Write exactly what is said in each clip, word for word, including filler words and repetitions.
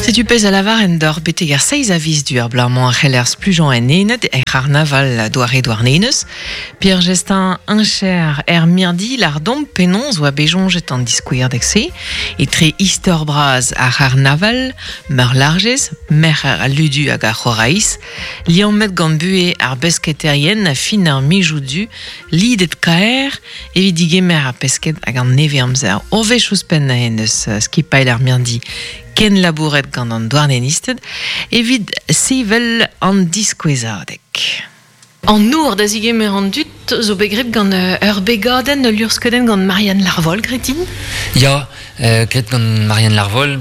Setu pezh a lavaren d'or betek ar seiz a viz du ar blamañ ar c'heller splujañ en ened er c'harnaval doare douarnenez. Pierre Gestin incher er mirdi lardon penonz oa bejonjet an diskouer dekse, etre istor braz ar c'harnaval, meur largez, mer ar ludu hag ar c'horaiz, liammet gant bue ar besketerien a fin ar mijou du, lidet kaer, evit digemer ar pesket hag an neve amzer. Orvech ouzhpenn en eus skipail ar mirdi ken labouret gant an douarnenisted, evit sevel an diskouezadeg. An nour da zigemer an dud zo bet gant ur begadenn ul luc'hskeudenn gant Marianne Larvol, Gretin? Ya, euh, gret gant Marianne Larvol,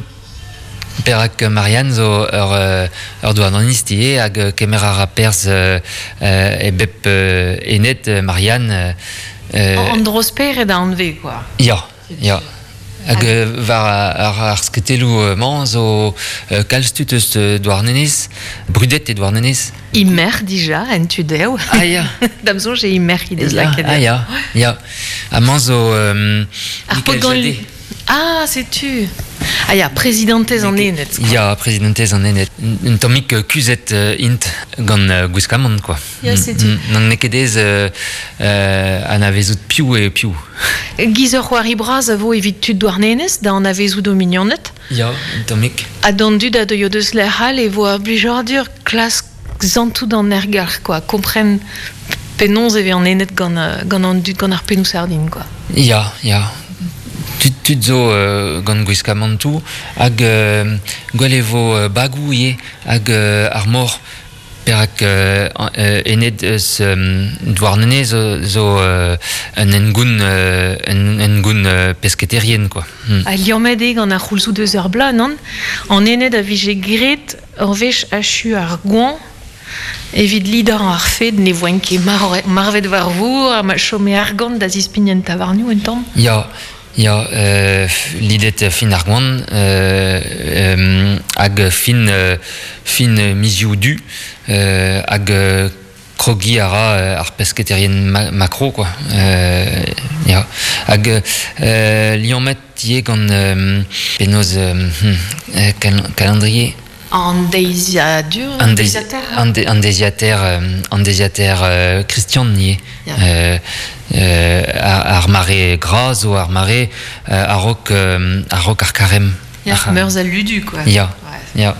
perak Marianne zo ur, ur douarnenist ivez hag kemer ar perz euh, e bep euh, enet Marianne. Euh, an drosper da anve, quoi. Ya, ya. Hag war ar, ar sketelou mañ zo kalz tud eus Douarnenez, brudet e Douarnenez. Imer dija, en tudeo. Ah ya. Dam soñj e imer he deus lakaet. Ah ya, ya. Ha mañ zo um, Michael Jadé. Ah, setu. Ah ya, prezidentez an ened. Ya, prezidentez an ened. Un tammig kuzhet int gant uh, gwiskamant, quoi. Ya, setu. N'an n'eo ket ez euh, euh, anavezout piv e piv. Giz ur c'hoari bras a vo evit tud Douarnenez da anavezout o mignoned. Ya, un tammig. Ha d'an dud a deuio deus lec'hal e vo ar blijadur klask zantout an ergalc'h, quoi. Kompren penaos e vez an ened gant, gant an dud gant ar pennoù sardin, quoi. Ya, ya. Tud, tud zo euh, gant gwiskamantoù hag euh, gwell e vo euh, bagou ivez hag euh, ar mor perak euh, ened eus euh, Douarnenez zo, zo euh, un engoun euh, un engoun euh, pesketerien, quoi. Hmm. Ha liammet eo gant ar c'houlzoù deus ar bloaz, non? An ened a vije gret ur wech achu ar goañ evit lidañ ar fed ne voen ket mar marvet war vour ha ma chome argant da zispign en tavarnioù un tamm. Ya. Ya, euh, lidet fin ar goan, euh, euh, hag fin, euh, fin mizioù du, euh, hag euh, krogi a ra ar pesketerien ma makro, quoi. Euh, ya. Hag euh, liammet ivez gant euh, penaos euh, cal calendrier. An deiziadur, an deiziater An, de, an deiziater, an deiziater euh, Christian ivez. Yeah. Euh, euh, ar mare gras zo ar mare euh, a-raok euh, a-raok ar karem. Ya, ar meurzh al ludu, quoi. Ya, ouais. Ya.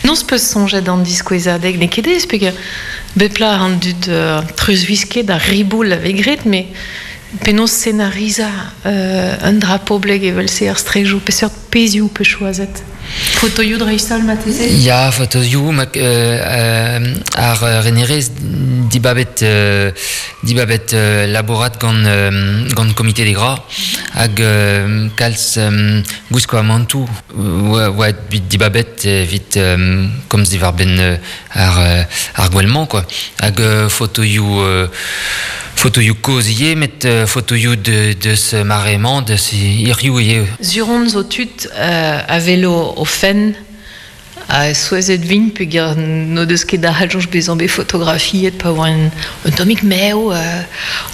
Non peus soñjet an diskouezadeg, n'eo ket ez, peogwir bep plat an dud euh, treuzwisket ar riboul a vez graet, met penaos scenarizañ euh, un dra poblek evel-se ar strejoù, peseurt pezhioù pe choazet. Fotoioù dreist-holl marteze? Ya, fotoioù, mak, euh, euh, ar renerez dibabet, euh, dibabet euh, labourat gant, euh, gant komite des gras hag euh, kalz euh, gwiskamantoù oa, oa dibabet evit euh, komz diwar-benn euh, ar, ar gwell-mañ, quoi. Hag euh, fotoioù euh, fotoioù kozh ivez, met euh, fotoioù de, deus mare-mañ, deus hiziv ivez. Zuron zo tud euh, a velo o fenn a souezhet vin peogwir n'o deus ket da c'halljoñj bezañ bet fotografiet pa oa un, un tammig mev, euh,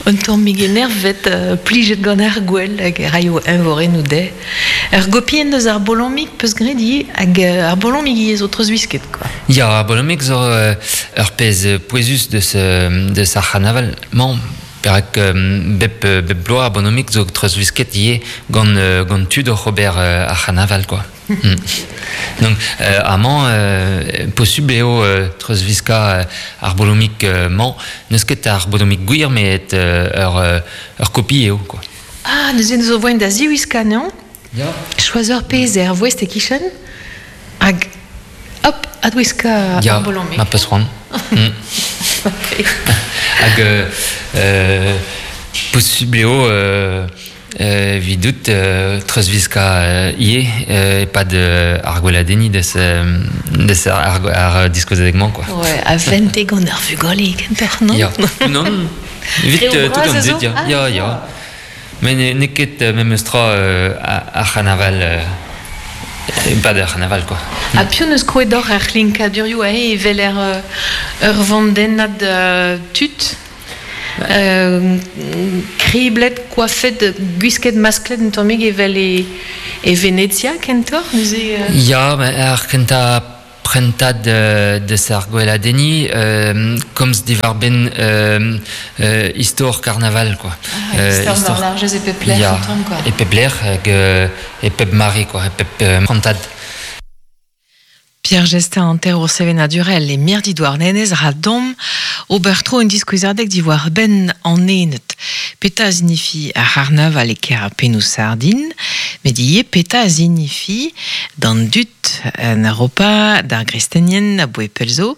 un tammig enervet, euh, plijet gant ar gwell hag e raio eñvorennoù dezhe. Ur gopienn deus ar bolomig peus graet ivez hag ar bolomig ivez zo treuzwisket, quoi. Ya, ar bolomig zo euh, ur pezh pouezus deus, deus ar c'harnaval mañ. Perak euh, bep, bep bloaz ar bolomig zo treuzwisket ivez gant, euh, gant tud oc'h ober euh, ar c'harnaval, quoi. Mm. Donc, euh, amañ, euh, posubl eo euh, treuzwiskañ euh, ar bolomig euh, mañ, n'eus ket ar bolomig gwir, met euh, ur, ur kopi eo, quoi. Ah, neuze zo voen da ziwiskañ, non? Ya. Choaz ur pezh er voest e-kichen, hag hop, adwiskañ ya, ar bolomig. Ya, ma peus c'hoant. Mm. Hag euh, euh, posubl eo euh, euh, evidout euh, treuzwiskañ euh, ivez euh, e-pad euh, ar gweladenniñ deus, euh, deus ar, ar diskouezadeg-mañ, quoi. Ouais, a vente gant ar vugale kentoc'h, non? Ya, non, evit euh, tout an dud, ya, ya, ya. Met n'eo ket memes tra euh, ar c'harnaval euh, e-pad ar c'harnaval, quoi. Ha piv neus krouet d'oc'h ar c'hlinkadurioù aze evel er, ur vandennad euh, tud? Euh, kriblet, koafet, gwisket masklet un tammig evel e, e Venezia, kentor, neuze... Euh... Ya, ar kenta prentad de, de ar gweladeni, euh, komz diwar ben euh, euh, istor carnaval, quoi. Ah, euh, istor largez e pep lec'h, ya, tamm, quoi. E pep lec'h, hag, e pep mare, quoi, e pep euh, prentad. Pierre Gestin anter sevenadurel e mirdi douarnenez ra dom ober tro un diskouezadeg diwar ben an enet. Peta zinifi ar c'harnaval e ker a penou sardin, met ie peta zinifi d'an dut en Europa d'ar gristenien a boe pelzo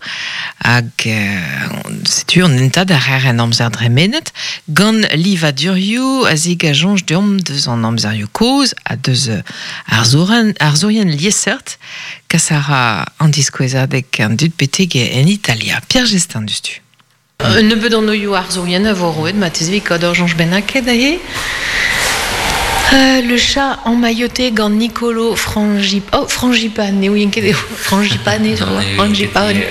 hag euh, setu an entad ar ar en amzer dremenet gant livadurioù a zeg a jonj deomp deus an amzerioù kozh ha deus ar zourien, ar zourien liesseurt kas a ra an diskouezadeg an dut beteg en Italia. Pierre Gestin dustu. Un nebeud an oioù ar zourien a vo roet, ma tezvi kad ur jonj bennaket ahe. Euh, le chat emmailloté gant Nicolo Frangip... Oh, Frangipane, eo ket eo. Frangipane, je crois. Frangipane.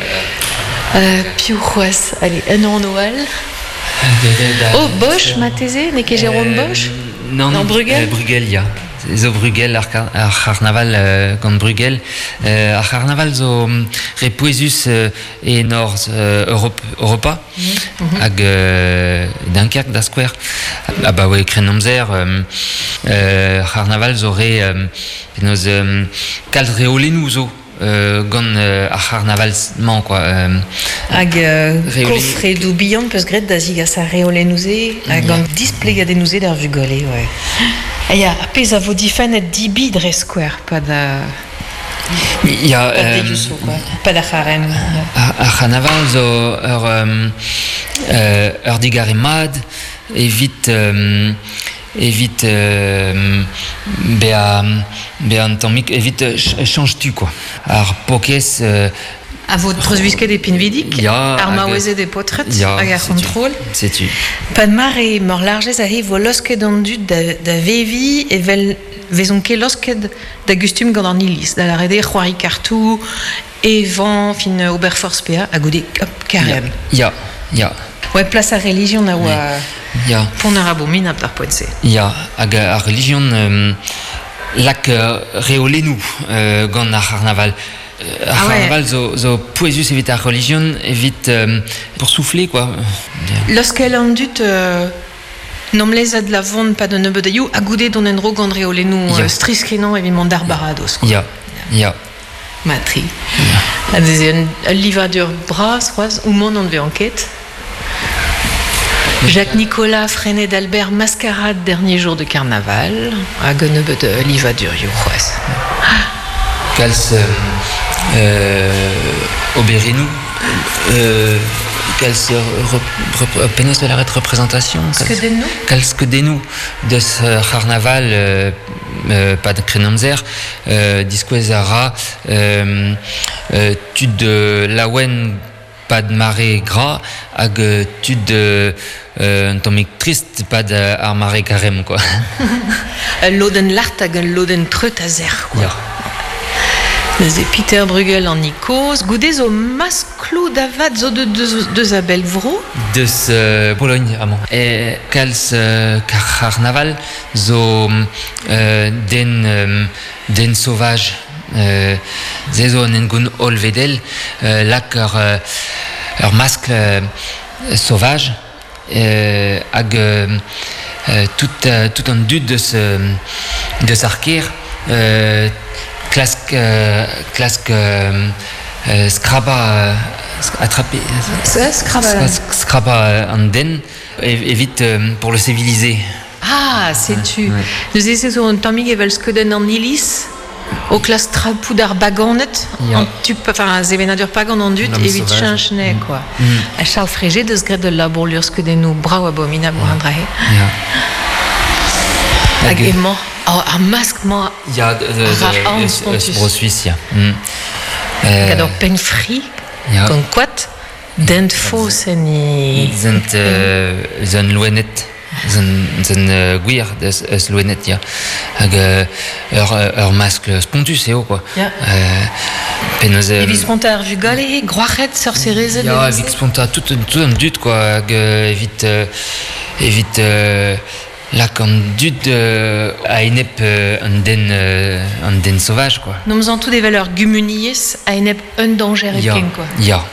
Euh, piou c'hoaz. Allez, un an Noël. Oh, Bosch, ma teze, n'eo ket Jérôme Bosch? Non, non, Bruegel? Euh, Bruegel, ya. Zo Bruegel, ar, ar c'harnaval euh, gant Bruegel. Euh, ar c'harnaval zo re pouezus euh, e nord euh, Europe, Europa, mm -hmm. hag euh, Dunkerque da skouer. Ah bah ouais, kren amzer, euh, euh, c'harnaval zo re euh, penaos euh, kalz reolennoù zo. Euh, gant euh, ar c'harnaval-mañ, quoi. Euh, hag euh, kofredoù bihan peus graet da zigas ar reolennoù-se, hag gant displegadennoù-se d'ar vugale, ouais. Ha ya, ar pezh a vo difennet dibi dre skouer, pa da... Ya, pa euh, dejuso, quoi. Pa da c'harem. Ar, ar c'harnaval zo ur, euh, ur digare mad, evit... Euh, evit euh, bea bea un tammig evit euh, change tu quoi ar pokez euh, a vo treuzwisket e pinvidik ya, ar maouezed e potret ya, hag ar c'hontrol setu Pad mar e mor largez a he vo losket an dud da, da vevi evel vezon ket losket da gustum gant an iliz da la rede c'hoari kartou evan fin ober forz pea ha goude hop karem ya ya Ouais, place à religion a oa ya. Pont ar abominabl d'ar poent-se. Ya, hag ar religion euh, lak euh, reolennoù euh, gant ar c'harnaval. Ar Ah ouais. c'harnaval zo, zo pouezus evit ar religion, evit euh, pour souffler, quoi. Loskel an dut euh, nom lezad la vont pa de nebeud aioù ha goude don en dro gant reolennoù Ya. euh, striskenañ evit mont d'ar baradoz, quoi. Ya, ya. Matri. Ha deze un, ul livadur bras, c'hoazh, ou mont an ve enquête. Jacques Nicolas, Freinet d'Albert, Mascarade, dernier jour de carnaval. Hag un nebeud euh, livadurioù c'hoazh. Kalz euh, euh, oberennoù, euh, kalz rep, rep, penaos da lâret représentation Skeudennoù? Kalz skeudennoù deus euh, c'harnaval euh, euh, pad krenamzer euh, diskouez a ra euh, euh, tud de laouen pad mare gra hag tud euh, un tammig trist pad ar mare karem, quoi. Ul lodenn lart hag ul lodenn treut a zer, quoi. Ya. Neuze Peter Bruegel an ikoz, goude zo maskloù da vat zo de deus, deus a bell vro? Deus euh, Pologne, amañ. E kalz euh, carnaval zo euh, den, euh, den sauvage. Euh, ze zo an engoun hollvedel, euh, lak ur, euh, ur maskl euh, sauvage euh, hag euh, euh, tout, euh, tout an dud deus, euh, deus ar ker euh, klask, euh, klask euh, euh, skraba euh, attraper Skraba. skraba an den evit euh, pour le civiliser. Ah, setu. Ouais. Neuze se zo un tammig evel skeudenn an iliz o klas trapoù d'ar baganed, Ya. an tup, enfin, a sevenadur pagan an dud, L'homme evit sauvage. cheñch quoi. Mm. A Charles Frégé deus graet ul labour lur skeudennoù brav abominabl war an drahe. Ya. Hag emañ, oh, ar mask-mañ Ya, de, de, Ra de, an eus, spontus. eus Bro-Suisse, ya. Mm. Euh, gant ur penn fri, ya. gant koad, dent faos en i... Zent, euh, zent loened, zent, zent euh, gwir deus, eus loened, ya. Hag euh, ur, ur maskl spontus eo, quoi. Ya. Euh, Penaos... Euh, Evit sponta ar vugale, groac'het, sorcerezed... Ya, evit sponta tout, tout an dud, quoi, hag euh, evit... Euh, evit euh, lak an dud euh, a enep euh, an den, euh, an den sauvage, quoi. Nomz an tout evel ur gumuniez a enep un danger Ya, hepken, quoi. ya.